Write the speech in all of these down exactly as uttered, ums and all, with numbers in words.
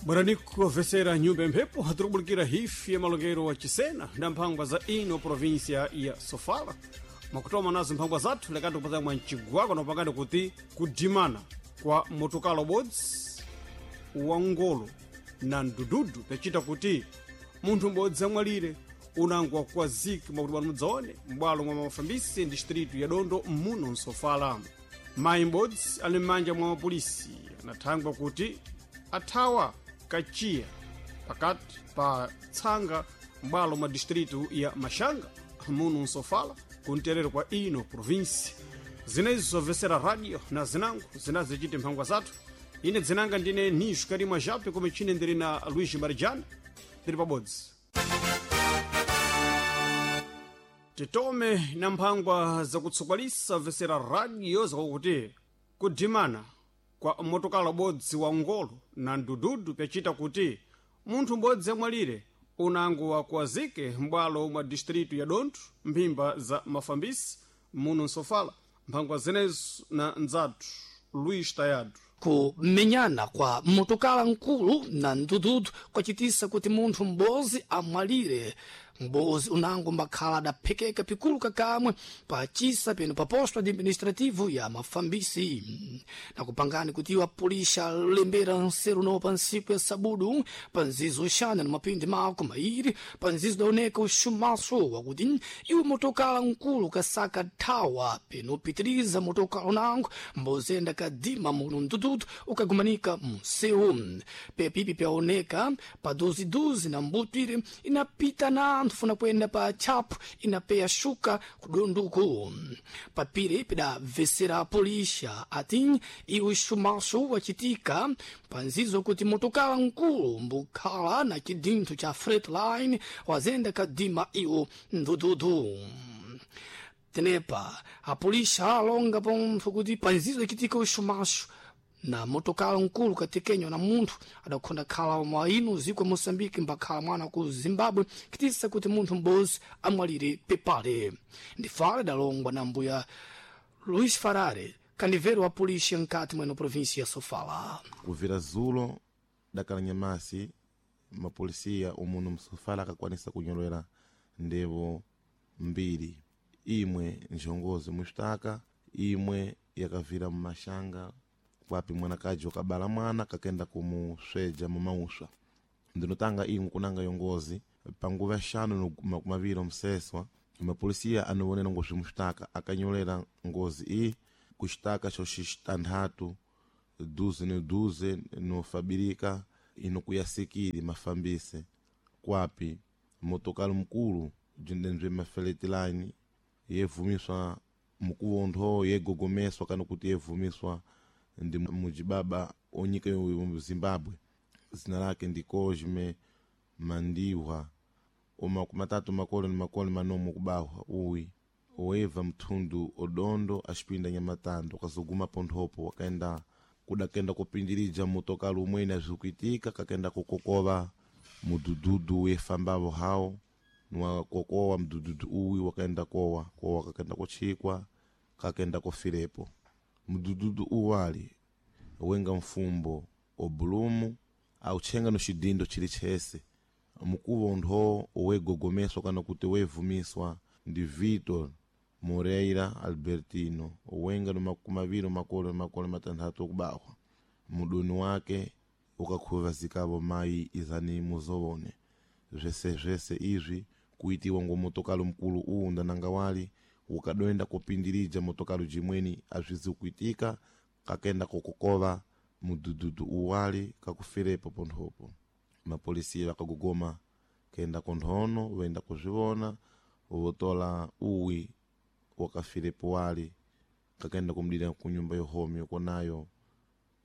Bwaraniko vesera nyumba mphepo tirikubulikira hifi ya malongero wa Chisena na mphangwa za ino província ya Sofala. Makutoma nazo mphangwa zathu lekati kupata mwa mcigwako nopangani kuti kudimana kwa motokalo bodzi wa ngolo na mdududu pecita kuti munthu m'bodzi amwalire unango wakukwazika mwakuti bwana mudzaone m'bwalo mwa mafambisi distritu ya Dondo muno msofala. Mayi m'bodzi ali m'manja mwa mapolisi anathangwa kuti athawa kachiya pakati pa tsanga m'bwalo mwa distritu ya Mashanga muno msofala kumterero kwa ino provinsi. Zinezo zobvesera radio na zinango zinazichite mphangwa zathu. Ine dzinanga ndine Nisho Karimwa Jape kome chine ndiri na Luiz Marijana tiri pabodzi. Titome na mphangwa zakutsokwalisa vesera radio zakuti kudimana kwa motokala bodzi wa ngolo na mdududu pyacita kuti munthu m'bodzi amwalire unango wakuwazike m'bwalo mwa distritu ya Dontho mphimba za mafambisi muno msofala. Mphangwa zinezo na ndzathu Luiz Tayado. Kumenyana kwa motokala nkulu na mdududu kwacitisa kuti munthu m'bodzi amwalire. M'bodzi unango mbakhala adaphekeka pikulu kakamwe pacisa peno pa posto administrativo ya mafambisi. Nakupangani kuti iwo apulisha lembera nseru no pa ntsiku ya sabudu pa nzizo uxana na mapindi mako mairi pa nzizo daoneka uxumaso wakuti iwo motokala nkulu kasaka thawa peno upitiriza motokala unango mbozenda kadima muno mdududu ukagumanika munsewu. Pepipi pyaoneka pa duziduzi na mbutwire inapita na anthu funa kuyenda pa tchapu inapeya shuka kudonduku. Papire pidabvesera polisha ati iwo xumaso wacitika panzizo kuti motokala nkulu mbukhala na cidintho cha Freightliner wazenda kadima iwo mdududu. Tenepa apolisha alonga pontho kuti panzizo ichitika uxumaxo na motokala nkulu katekenywa na munthu adakhonda khala mwa ino ziko ya Moçambique mbakhala mwana ku Zimbabwe kitisa kuti munthu m'bodzi amwalire pepale. Ndifale idalongwa na mbuya Luís Farare, kanivero wa polícia nkati mweno província ya Sofala. Kuvira zulo dakala nyamasi mapolisiya umuno msofala akakwanisa kunyolera ndevo mbiri, imwe njongozi muxitaka, imwe yakavira mumashanga kwapi mwanakaji wakabala mwana kakenda kumusweja mumauswa. Ndinotanga imwe kunanga yongozi panguva yaxanu no makumi maviri omseswa mapolisiya anowonera ngozi muxitaka akanyolera ngozi iyi kuxitaka xoxitanthatu duze no duze nofabirika inokuyasikiri mafambise kwapi motokalo mkulu bzindenzwe mafeletilani yevumiswa mukuvontho yegogomeswa kana kuti yevumiswa ndi mujibaba onyika yo Zimbabwe zina lake ndi Cosme Mandiwa omakumatatu makolo ni makolo manomo kubahwa uwi oeva mthundu odondo axipinda nyamatando akazoguma ponthopo akaenda kudakenda kupindirija motokalo umwene azvikuitika kakenda kukokova mudududu wefambavo hawo niwakokowa mdududu uwi wakaenda kowa kowa kakenda kutchikwa kakenda kofirepo. Mdududu uwali wenga mfumbo obulumu autchenga no xidindo chili chese mukuvo ntho owegogomeswa kana kuti wevumiswa ndi Vitor Moreira Albertino owenga no makumi maviri makolo makolo matanthatu okubahwa mudoni wake ukakhuvazikavo mayi izani muzowone zvese zvese izvi kuitiwa ngo motokalo mkulu uwu ndananga wali ukadoenda kupindirija motokalo jimweni azvizi kuitika kakenda kukokova mudududu uwali kakufirepo ponthopo. Mapolisiya vakagogoma kenda konthono voenda kuzvivona votola uwi wakafirepo wali kakenda kumudira kunyumba yohomi yokonayo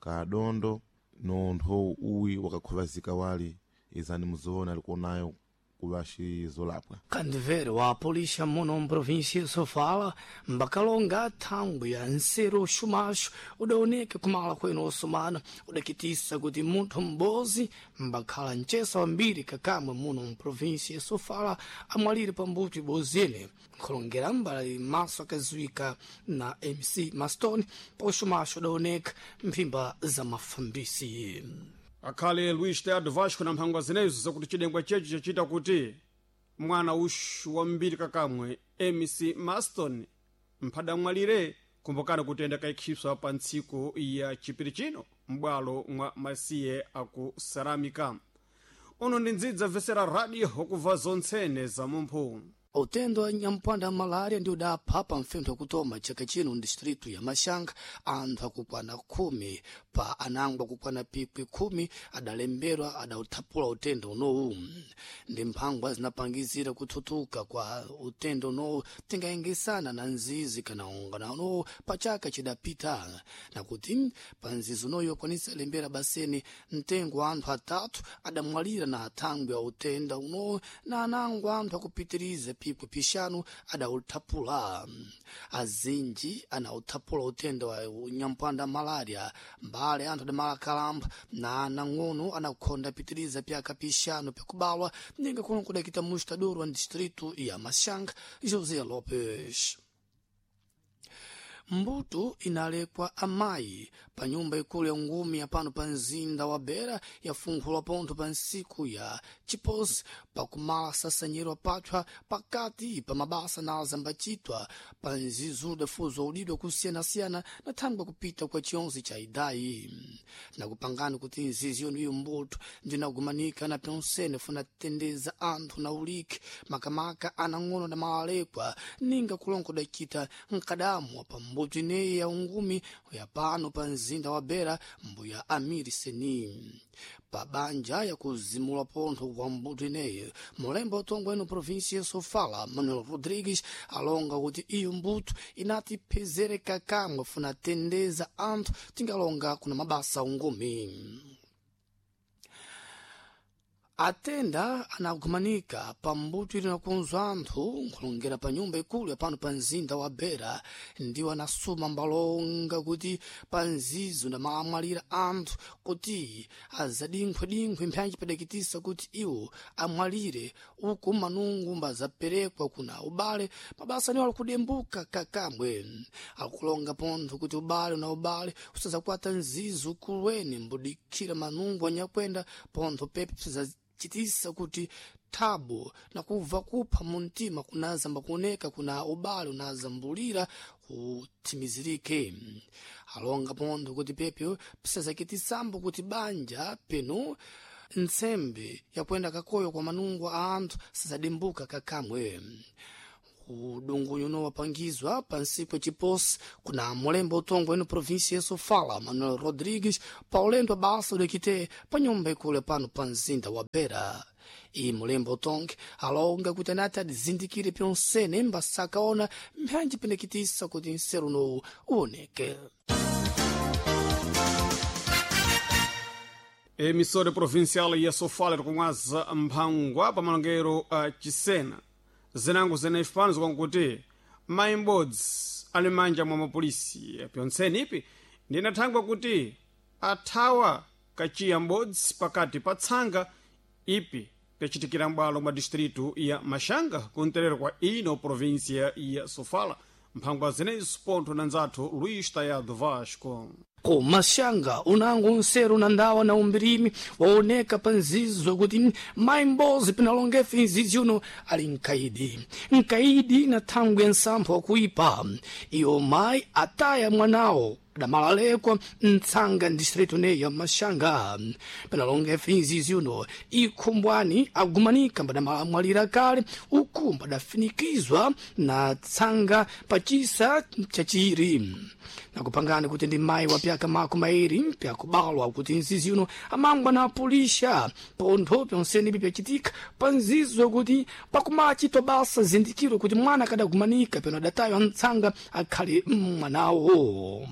kadondo nontho uwi wakakhuvazika wali izani muzoona alikuonayo kuvaxizolapwa. Kandivero wa polícia muno mprovíncia Sofala mbakalonga thangwi ya nseru xumaxo udaoneka kumala kwenu osumana udakitisa kuti munthu m'bodzi mbakhala mcesa wambiri kakamwe muno mprovíncia Sofala amwalire pambuto ibodzi ene. Nkhulongera mbali maso akaziwika na M C Maston pa uxumaxo udaoneka mphimba za mafambisi. Akhale Luis Teado Vasco na mphangwa zinezo zakuti chidengwa chechi chachita kuti mwana uxu wambiri kakamwe M C Maston mphadamwalire. Kumbukani kuti enda kaikhipswa pa ntsiku ya chipiri chino m'bwalo mwa masiye aku Saramika. Uno ndi ndzidza vesera radio wakumva zontsene za mumphu. Utendo wa nyampanda wa malaria ndi udapha pa mfentho wakutoma chaka chino ndistritu ya Maxanga anthu akukwana khumi pa anango akukwana pikwi khumi adalemberwa adauthapula utendo unowu. Ndi mphangwa zinapangizira kuthutuka kwa utendo unowu tingayengesana na nzizi kana ungana unowu pa chaka chidapita, nakuti pa nzizi unoyu akwanisa lembera baseni mtengo wa anthu atatu adamwalira na athangwi a utenda unowu na anango anthu akupitiriza pikwi pixanu adauthapula. Azinji anauthapula utenda wa nyampanda malaria mbale anthu adamalakalamba na anang'ono anakhonda pitiriza pyaka pixanu pyakubalwa, ninga kuno kudakita mustador wa distritu ya Maxanga, José Lopes. Mbuto inalekwa amayi pa nyumba ikulu ya ngumi ya pano pa mzinda wa Beira yafunkhulwa pontho pa ntsiku ya chiposi pakumala sasanyiro pathwa pakati pa mabasa na azambacitwa pa nzizuda fuzo udidwa kusiyanasiyana na thangwi kupita kwa chionse cha idayi, nakupangani kuti nzizi yonu iyo mbuto ndinagumanika na pyonsene funa tendeza anthu na uliki makamaka anang'ono na malalekwa, ninga kulongo dacita mkadamwa pa mbuto ineyi ya ungumi ya pano pa mzinda wa Beira, mbuya Amiri Seni. Pa banja yakuzimula pontho kwa mbuto ineyi, mulembo utongwe ino provinsia ya Sofala, Manuel Rodrigues, alonga kuti iyo mbuto inatipezereka kamwe funa tendeza anthu tingalonga kuna mabasa ungumi. Atenda anagumanika pa mbuto ili nakunzwa anthu nkhulongera pa nyumba ikulu yapano pa mzinda wa Beira ndiwo anasuma mbalonga kuti pa nzizo ndamalamwalira anthu kuti azadinkhwedinkhwe mphanji padakitisa kuti iwo amwalire uku manungu mbazaperekwa kuna ubale mabasa niwo alikudembuka kakamwe. Akulonga pontho kuti ubale na ubale usazakwata nzizo kulweni mbudikira manungu anyakwenda pontho pepe chitisa kuti thabu na kubva kupha muntima kunazamba kuoneka kuna ubale unazambulira kuthimizirike. Alonga pontho kuti pepe pisazakitisambo kuti banja penu ntsembe yakwenda kakoyo kwa manungu a anthu sizadimbuka kakamwe. Udungunyu uno wapangizwa pa ntsiku yaciposi kuna mulembo utongwe ino provinsia ya Sofala, Manuel Rodrigues, pa ulendo wa basa udakite pa nyumba ikulu pano pa mzinda wa Beira. Iyi mulembo utonge alonga kuti anati adizindikire pyonsene mbasakaona mphanji pendekitisa kuti nseru unowu uwoneke. Emissora provincial ya Sofala tikumwaza mphangwa pa malongero a Chisena. Zinango zeneyi pano zikankuti mayi m'bodzi ali manja mwa mapolisi pyontseni ipi ndinathangwa kuti athawa kachiya m'bodzi pakati pa tsanga ipi pyacitikira m'bwalo mwa distritu ya Maxanga kumterero kwa ino província ya Sofala. Mphangwa zeneyi pontho na nzathu Luís Tayado Vasco. Ku Maxanga unango nseru na ndawa na umbirimi waoneka pa nzizo kuti mayi m'bodzi pinalongefe nzizi uno ali mkaidi mkaidi na thangwi ya nsampho wakuipa. Iyo mayi ataya mwanawo damalalekwa mtsanga distritu neyi ya Maxanga. Pinalongefe nzizi uno ikhumbwani agumanika mbadamalamwalira kale uku mbadafinikizwa na tsanga pachisa chachiri, nakupangani kuti ndi mayi wa pyaka makumi mairi pyakubalwa kuti nzizi uno amangwa na apulisha pontho pyonsene ipi pyacitika pa nzizo kuti pakumachitwa basa zindikiro kuti mwana akadagumanika peno adataywa mtsanga akhale mwanawo.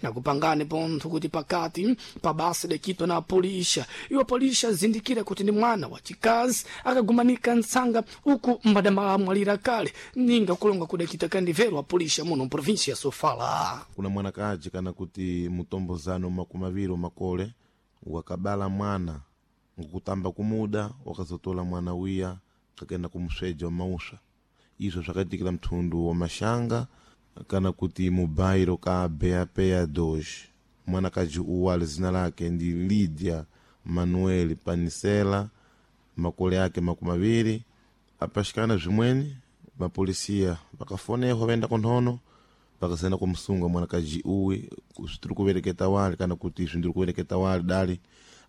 Nakupangani pontho kuti pakati pa basa idacitwa na apulisha, iwo apulisha azindikira kuti ndi mwana wachikazi akagumanika mtsanga uku mbadamalamwalira kale, ninga kulonga kudacita kandivero apulisha muno mprovinsia ya Sofala. Kuna mwanakaji kana kuti mutombozano makumi awiri makole wakabala mwana ngukutamba kumuda wakazotola mwana wiya kakenda kumusweja wa mauswa. Izvo zvakaitikira mthundu wa Maxanga kana kuti mubairo ka Beapeya dos. Mwanakaji uwu ali zina lake ndi Lydia. Manuel Panisela makole ake makumi aviri. Apashikana zvimweni mapolisiya vakafonehwa vaenda kunthono vakasenda kumusunga mwanakaji uwi zvitiri kuvereketa wali kana kuti izvi ndiri kuvereketa wali dali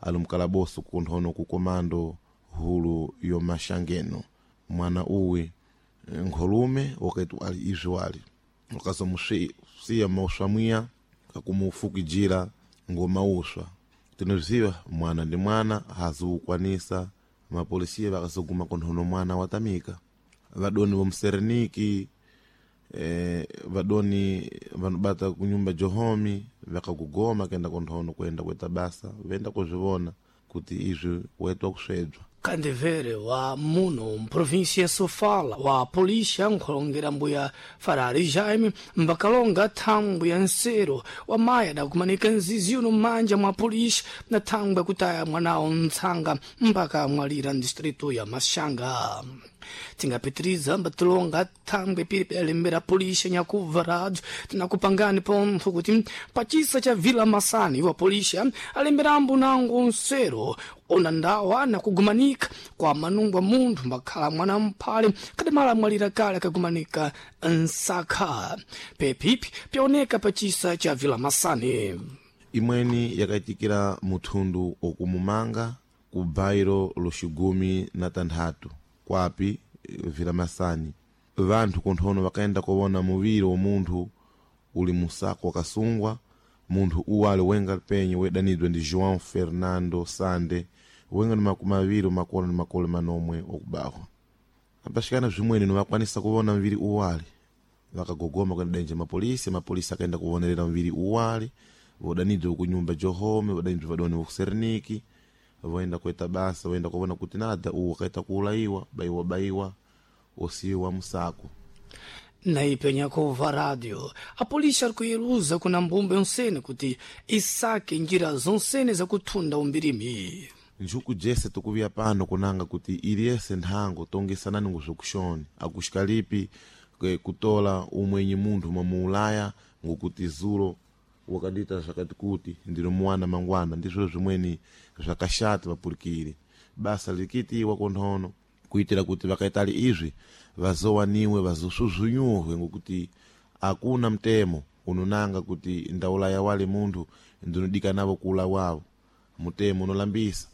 ali mukalaboso kunthono ku komando hulu yomashangeno. Mwana uwi nkholume wakati ali izvi wali wakazomusiya mauswa mwiya kakumufukijira ngomauswa. Tinoziva mwana ndi mwana haziukwanisa. Mapolisiya vakazoguma kunthono mwana watamika. Vadoni vomusereniki eh, vadoni vanobata kunyumba johomi vakakugoma kenda kunthono kuenda kuita basa venda kuzvivona kuti izvi waitwa kusvedzwa. Kandevere wa muno mprovinsia ya Sofala wa polícia nkhulongera mbuya Farari Jaime mbakalonga thangwi ya nsero wa mayi adakumanika nzizi uno m'manja mwa polícia na thangwi yakutaya mwanawo ntsanga mpaka amwalira mdistrito ya Maxanga. Tingapitiriza mbatilonga thangwi pili pedalembera polícia nyakubva rádio tinakupangani pontho kuti pachisa cha Vila Masani wa polícia alemberambo nango nsero ona ndawa nakugumanika kwa manungwa munthu mbakhala mwana mphale kadamala amwalira kale akagumanika nsakha pepipi pyaoneka pachisa cha Vila Masani. Imweni yakaitikira muthundu okumumanga ku bairo loxigumi na tanthatu kwapi Vila Masani. Vanthu kunthono vakaenda kuwona muviri wa munthu uli musako wakasungwa. Munthu uwu ali wenga penye wedanidwa ndi João Fernando Sande wenga ni makumi aviri makolo ni makolo manomwe okubahwa. Apaxikana zvimweni novakwanisa kuwona muviri uwali vakagogoma kuenda denje mapolisi. Mapolisi akaenda kuvonerera muviri uwali vodanidwa kunyumba johome vodanidwa vadoni vokuseriniki voenda kuita basa voenda kuona kuti nada uwu wakaita kuulayiwa baiwa baiwa osiwa musako. Naipenya kuva rádio a polícia arikuyeluza kuna mbumbe onsene kuti isake njira zonsene zakuthunda umbirimi. Njuku jese tukuviya pano kunanga kuti iliyese nthango tongesanani ngozvokuxoni akuxikalipi kutola umwenyi munthu mwamuulaya ngokuti zulo wakadita zvakati kuti ndinomuwana mangwana. Ndizvo zvimweni zvakashata vapulikire basa likitiwa kunthono kuitira kuti vakaitali izvi vazowaniwe vazosvuzvunyuhwe ngokuti akuna mtemo unonanga kuti ndaulaya wale munthu ndinodikanavo kuula wawo. Mutemo unolambisa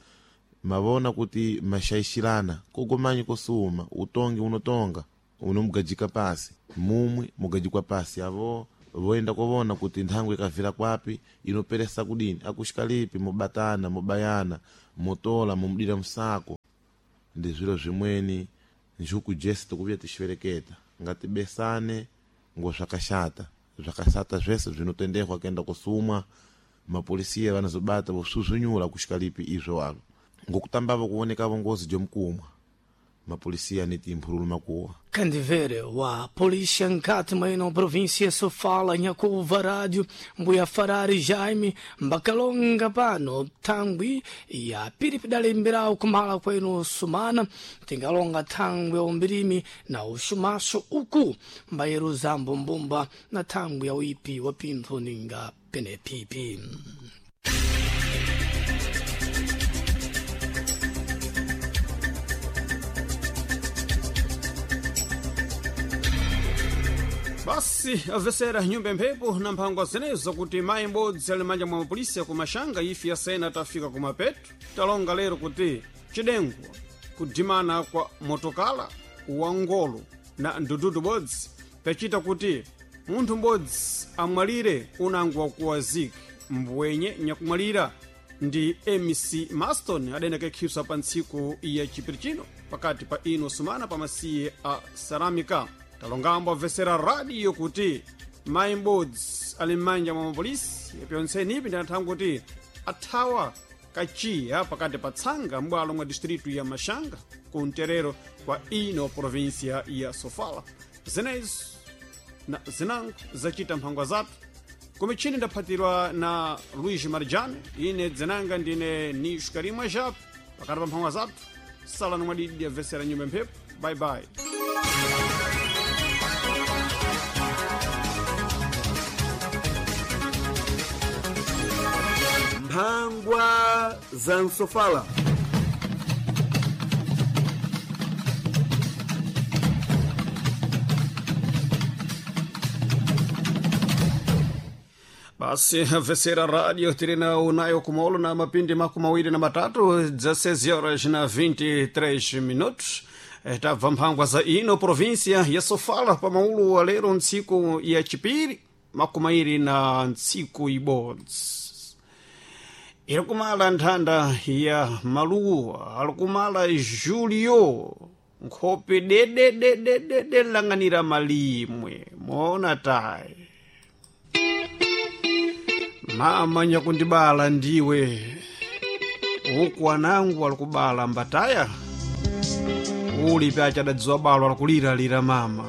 mavona kuti mashaishirana kogomanyi kosuma utongi unotonga unomugajika pasi mumwe mugajikwa pasi avo voenda kovona kuti nthango ikavira kwapi inoperesa kudini akuxikalipi mubatana mubayana mutola mumudira musako. Ndi zviro zvimweni njuku jese tikuvuya tixivereketa ngatibesane ngo zvakashata zvakashata zvese zvinotendehwa kuenda kusumwa. Mapolisiya vanozobata vosvuzvunyura kuxikalipi izvo walo ngokutambavo kuonekavo ngozi jomukumwa mapolisiya aniti mphululu makuwa. Kandivere wa polícia nkati mwaino província Sofala nyakuva rádio mbuya Farari Jaime mbakalonga pano thangwi ya piri pidalemberawo kumala kwenu sumana tingalonga thangwi ya umbirimi na uxumaxo uku mbayeruza mbumbumba na thangwi ya uipi wa pinthu ninga penepipi. Basi avesera nyumba mphepo na mphangwa zenezo kuti mayi m'bodzi ali manja mwa mapolisi akumaxanga ife yasena tafika kumapeto. Talonga lero kuti cidengwa kudimana kwa motokala wa ngolo na ndududu bodzi pacita kuti munthu m'bodzi amwalire unango wakuwazika mbwenye nyakumwalira ndi M C Maston adayenda kaikhisa pa ntsiku ya chipiri chino pakati pa ino sumana pa masiye a Saramika. Talongambo amvesera radio kuti mayi m'bodzi ali m'manja mwa mapolisi yapyontsenipi ndi kuti athawa kachiya pakati pa tsanga m'bwalo mwa distritu ya Maxanga ku mterero kwa ino província ya Sofala. Zenezo na zinango zacita mphangwa zathu kumichini ndaphatirwa na Luís Marjane ine dzenanga ndine Nisho Karimwa Jap pakati pa mphangwa zathu sala nomwadidi amvesera nyumba mphepo. Bye bye. Mphangwa za Nsofala. Basi vesera radio tirina unayo kumaolo na mapindi makumi mawiri na matatu dezesseis horas na vinte e três minutos. Eh, tabva mphangwa za ino província ya Sofala pa maulu wa lero ntsiku ya chipiri makumi mairi na ntsiku ibodzi iri kumala nthanda ya maluwa alikumala Julio nkhope dedededede lang'anira malimwe moona tayi mama nyakundibala ndiwe uku anangu alikubala mbataya uli pyachadadziwa balo alikuliralira mama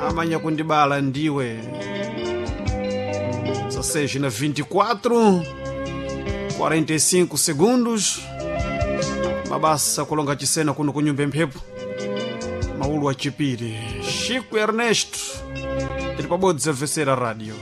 mama nyakundibala ndiwe dezesseis na vinte e quatro quarenta e cinco segundos mabasa kulonga chisena kuno kunyumba mphepo maulu achipiri Chico Ernesto tili pabodzi amvesera radio.